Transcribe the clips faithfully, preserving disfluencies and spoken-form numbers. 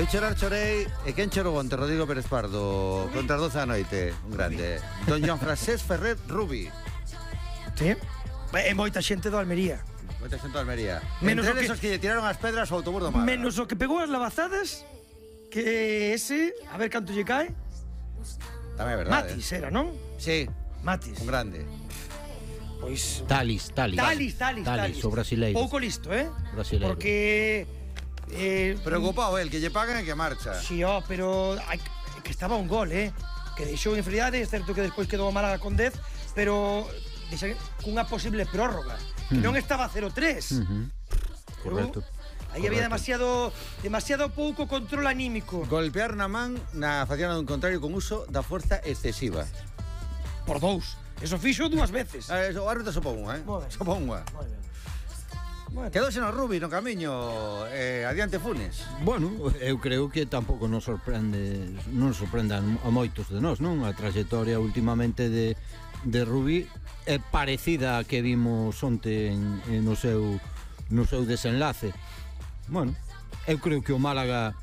Eu chorar chorei. E quen chorou onte? Rodrigo Pérez Pardo contra as doce da noite. Un grande. Don Joan Frasés Ferrer Rubi. Sí. E moita xente do Almería. Moita xente do Almería. Menos Entre o que- esos que lle tiraron as pedras ao autobús do Málaga. Menos o que pegou as lavazadas, que ese, a ver canto lle cae. Tamén é verdade. Matis era, non? Sí, Matis. un grande. Pois Talis, Talis. Talis, Talis, Talis, Talis. o brasileiro. Pouco listo, eh? Brasileiro. Porque eh, Preocupado el, que lle pagan e que marcha. Si, ó, pero hai, que estaba un gol, eh? Que deixou en inferioridade, é certo que despois quedou a Málaga con dez, pero deixa, cunha posible prórroga. Que Mm. non estaba cero tres. Uh-huh. Correcto. Aí había demasiado demasiado pouco control anímico. Golpear na man na faciana dun contrario con uso da fuerza excesiva. Por dous. Eso fixo dúas veces. Ah, eso, o árbitro sopou unha, eh? Moi ben. Sopou unha. Moi ben. Bueno. Quedóse no Rubi, no camiño, eh, adiante Funes. Bueno, eu creo que tampouco nos sorprende, non sorprendan a moitos de nós, non? A trayectoria últimamente de, de Rubí é parecida a que vimos onte en, en no seu no seu desenlace. Bueno, eu creo que o Málaga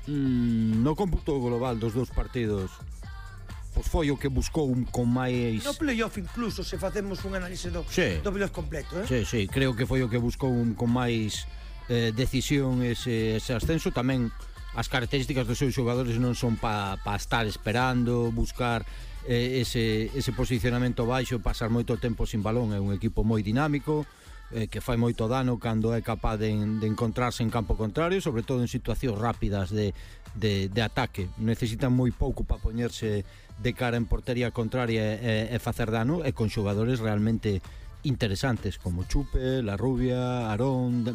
mmm, no cómputo global dos dous partidos pois foi o que buscou con máis... No playoff incluso, se facemos un análise do, Sí. do playoff completo, eh? Sí, sí, creo que foi o que buscou un, con máis eh, decisión ese, ese ascenso. Tamén as características dos seus xogadores non son para pa estar esperando, buscar eh, ese, ese posicionamento baixo, pasar moito tempo sin balón. É un equipo moi dinámico, eh, que fai moito dano cando é capaz de, de encontrarse en campo contrario, sobre todo en situacións rápidas de, de, de ataque. Necesitan moi pouco para poñerse de cara en portería contraria e, e facer dano, e con xogadores realmente interesantes como Chupe, La Rubia, Aarón,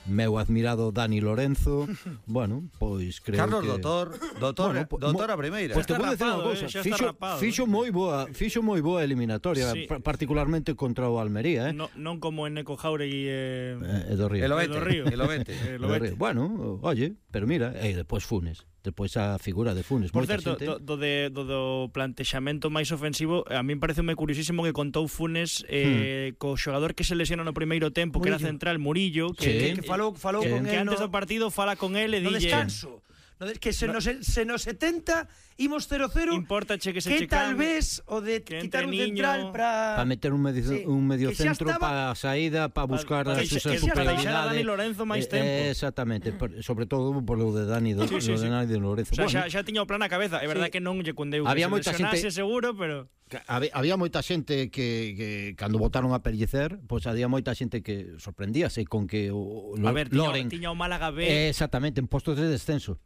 meu admirado Dani Lorenzo. Bueno, pois creo Carlos que... Doutor, doutor, Bueno, po- doutor mo- a primeira. Pois te Está vou dicir unha rapado, cousa, eh, xa está fixo, rapado, fixo eh. moi boa, fixo moi boa eliminatoria, Sí. pa- particularmente contra o Almería, eh. No, non como en Neco Jauregui e... Eh, e do Río. El E do Río. Ovete, el Ovete. Eh, Do Lobete. Río. Bueno, oye, pero mira, e despois Funes, despois a figura de Funes, Por moita certo, xente. do, do, de, do, do plantexamento máis ofensivo, a min pareceume curiosísimo que contou Funes eh, hmm. co xogador que se lesiona no primeiro tempo, que era Murillo. central, Murillo, Sí. que, Que falou, falou Que- con que él antes no, do partido fala con él e no dille... descanso. No, de- que se nos, se nos setenta imos cero cero. Importache que se que checan, tal vez o de que quitar un entre central niño- para Para meter un medio, Sí, un medio que xa centro estaba- para a saída, para buscar pa- a que xa- súa que xa estaba superioridade. Dani Lorenzo máis Eh, tempo. eh, exactamente, por- sobre todo por lo de Dani, do, Sí, sí, lo de sí. Dani de Lorenzo. O sea, Bueno, xa, xa tiña o plan na cabeza. É verdade Sí. que non lle cundeu Había que moita se lesionase xente- seguro, pero... que había, había moita xente que, que cando botaron a pellecer, pois pues, había moita xente que sorprendíase con que o, o A ver, tiña, Loren tiña o Málaga B, eh, exactamente en postos de descenso.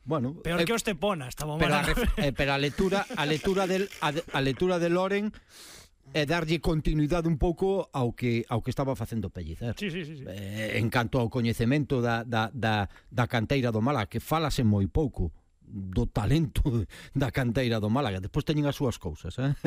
Bueno, peor eh, que o Estepona, estaba o pero a, Málaga ref- B. eh, pero a lectura a lectura del a, de- a lectura de Loren é darlle continuidade un pouco ao que ao que estaba facendo Pellicer. Sí, sí, sí, sí. Eh, en canto ao coñecemento da, da, da, da canteira do Málaga, que falase moi pouco do talento da canteira do Málaga. Despois teñen as súas cousas, eh?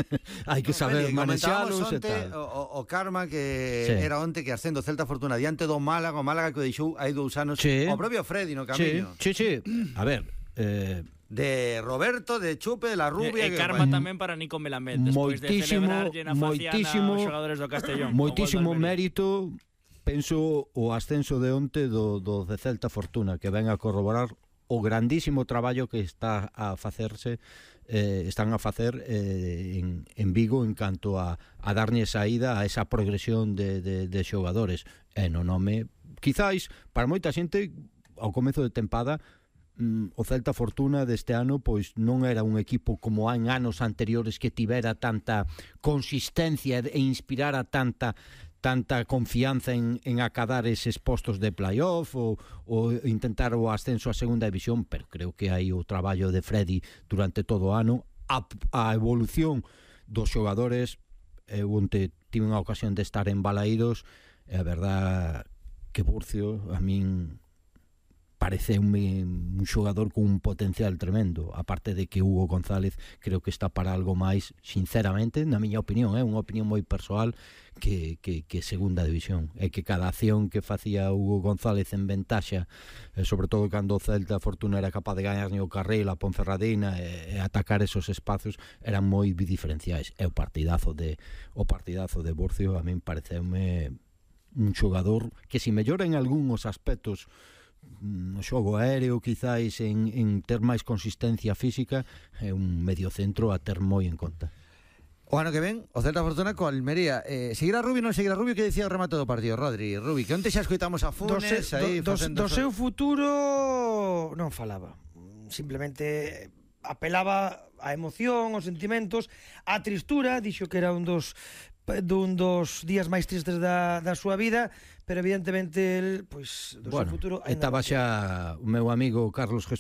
Hai que saber Meli, manexalos comentábamos e onte tal. o, o karma que Sí. era onte que ascendo Celta Fortuna diante do Málaga, o Málaga que o deixou hai dous anos Sí. o propio Freddy no Sí, camiño. sí, sí. A ver, eh, De Roberto, de Chupe, de La Rubia. E, e que- karma bueno, tamén para Nico Melamed, despois de Moitísimo, celebrarlle na faciana moitísimo, aos xogadores do Castellón. moitísimo o gol do Almería. mérito, penso, o ascenso de onte do, do de Celta Fortuna, que ven a corroborar o grandísimo traballo que está a facerse eh, están a facer eh, en, en Vigo en canto a, a darlle saída a esa progresión de, de, de xogadores e no nome, quizáis para moita xente ao comezo de tempada mm, o Celta Fortuna deste ano pois non era un equipo como en anos anteriores que tivera tanta consistencia e inspirara tanta tanta confianza en, en acadar eses postos de playoff ou, ou intentar o ascenso a segunda división, pero creo que hai o traballo de Freddy durante todo o ano, a, a evolución dos xogadores. Eu onte tive unha ocasión de estar en Balaídos e a verdad que Burcio a min parece un, un xogador con un potencial tremendo, aparte de que Hugo González creo que está para algo máis, sinceramente, na miña opinión, é eh, unha opinión moi persoal, que, que, que segunda división, é que cada acción que facía Hugo González en ventaxa, eh, sobre todo cando o Celta Fortuna era capaz de gañar o Carril, a Ponferradina e, e atacar esos espazos, eran moi diferenciais. É o partidazo de o partidazo de Burcio, a min pareceume un xogador que si mellora en algúns aspectos no xogo aéreo, quizáis en, en ter máis consistencia física, é un mediocentro a ter moi en conta. O ano que ven, o Celta Fortuna co Almería. Eh, seguirá Rubio ou non seguirá Rubio? Que dicía o remate do partido, Rodri? Rubi, que onte xa escoitamos a Do, Funes se, aí do, do, facendo... do seu futuro non falaba. Simplemente apelaba á emoción, aos sentimentos, á tristura, dixo que era un dos dun dos días máis tristes da, da súa vida, pero evidentemente el, pois, do Bueno, seu futuro... estaba xa o meu amigo Carlos Jesús